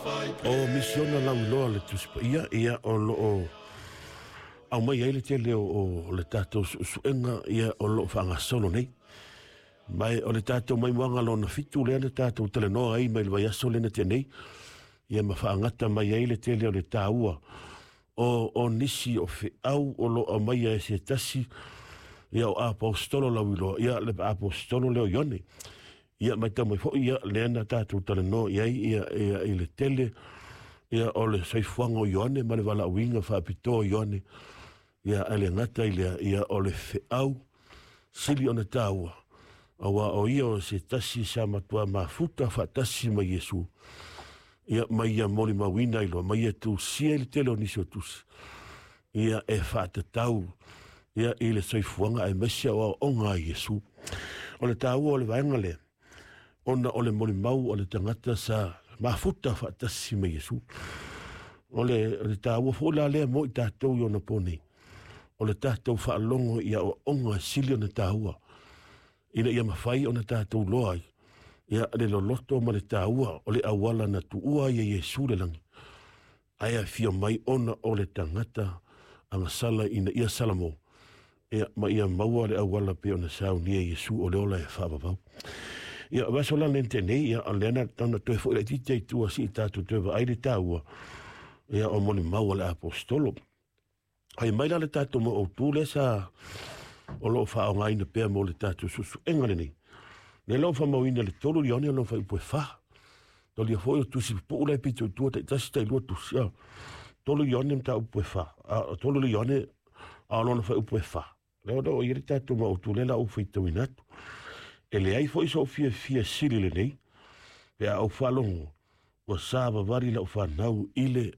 O misiona lauiloa a le Tusi Paia, ia, o lo o aumai ai le tele o le tatou suesuega, ia, o lo o faagasolo nei. Ma o le tatou maimoaga lona 7 lea na tatou talanoa ai mai le vaiaso lea na tea nei, ia, ma faagata mai ai le tele o le taua o nisi o feau o lo o aumaia e se tasi, ia, o aposetolo lauiloa, ia, le aposetolo lea o Ioane. Ia matau mai foi, ia, lea na tatou talanoa i ai, ia, i le tele, ia, o le soifuaga o Ioane ma le valaauina faapitoa o Ioane. Ia, ae le gata i lea, ia, o le feau sili ona taua, aua o ia o se tasi sa matua mafuta faatasi ma Iesu, ia, mai ia molimauina i loa, mai ia tusia i le tele o nisi o tusi, ia, e faatatau, ia, i le soifuaga aemaise o aoaoga a Iesu. O le taua o le vaega lea, ona o le molimau o le tagata sa mafuta faatasi ma Iesu. O le taua foi la lea mo i tatou i ona po nei, o le tatou faalogo i aoaoga sili ona taua, ina ia mafai ona tatou loa ai, ia, le loloto ma le taua o le auala na tuua ai e Iesu le lagi, ae afio mai ona o le tagata agasala ina ia salamo, ia, ma ia maua le auala pe ona saunia Iesu o le ola e faavavau. Ia, vaso la lente nei, ia, o lea na tana toe foi laitiiti ai tua si i tatou toe vaai le taua, ia, o molimau a le aposetolo. Ai mai la le tatou mo autu lea sa o lo o faaaogaina pea mo le tatou suesuega lenei. Lea la ua faamauina le 3 Ioane lona fuaiupu e 4. Talia foi o tusi pupuu la e pito i tua taitasi tailua tusi. 3 Ioane mataupu e 4. 3 Ioane a o lona fuaiupu e 4. Lea o lo o i ai le tatou maautu lea la ou faitauina atu. E leai foi sou fiafia sili lenei, pe a ou faalogo ua savavali lau fanau i le